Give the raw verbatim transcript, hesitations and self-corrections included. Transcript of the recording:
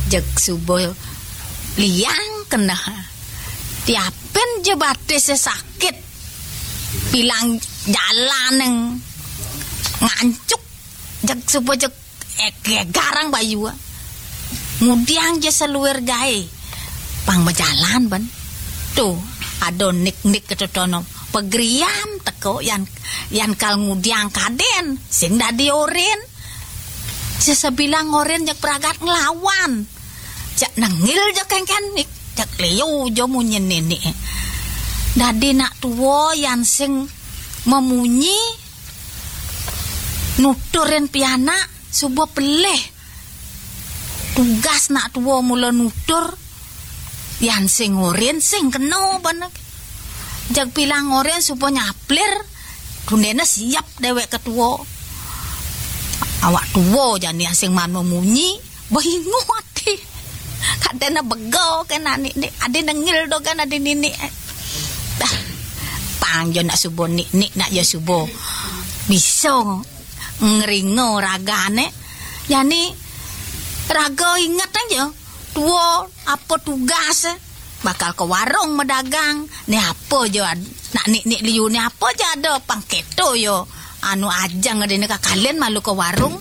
Jeg suba liang keneh. Tiapin ja batis sakit. Pilang jalan neng ngancuk. Jeg suba jeg, eh, garang bayu. Ngudiang ja saluir gaé. Pang majalan ban. Tuh, ada nik-nik ketotono. Pegriam teko yan, yan kal ngudiang kadén. Sing dadi orin. Sesebilang orin jeg pragat nglawan. Jak nengil ja kengken nik. Jak liu ja munyin nenek. Dadi nak tua yan sing memunyi nuturin pianak suba pelih. Tugas nak tua mula nutur, yan sing orin sing kena ban. Jeg pilang orin suba nyaplir, tundéna siap déwék ketua. Awak tua jani sing man memunyi, bingung ati. Kadéna bego kena nik-nik, adi nengil dogan adi ninik. Dah, pang ja nak suba nik-nik nak ja suba. Bisa ngeringa ragané. Jani raga inget aja. Tua apa tugas, eh? Bakal ke warung medagang. Né apa ja ad-, nak nik-nik liu né apa ja ada pang keto ya. Anu ajang ada né kakalin malu ke warung.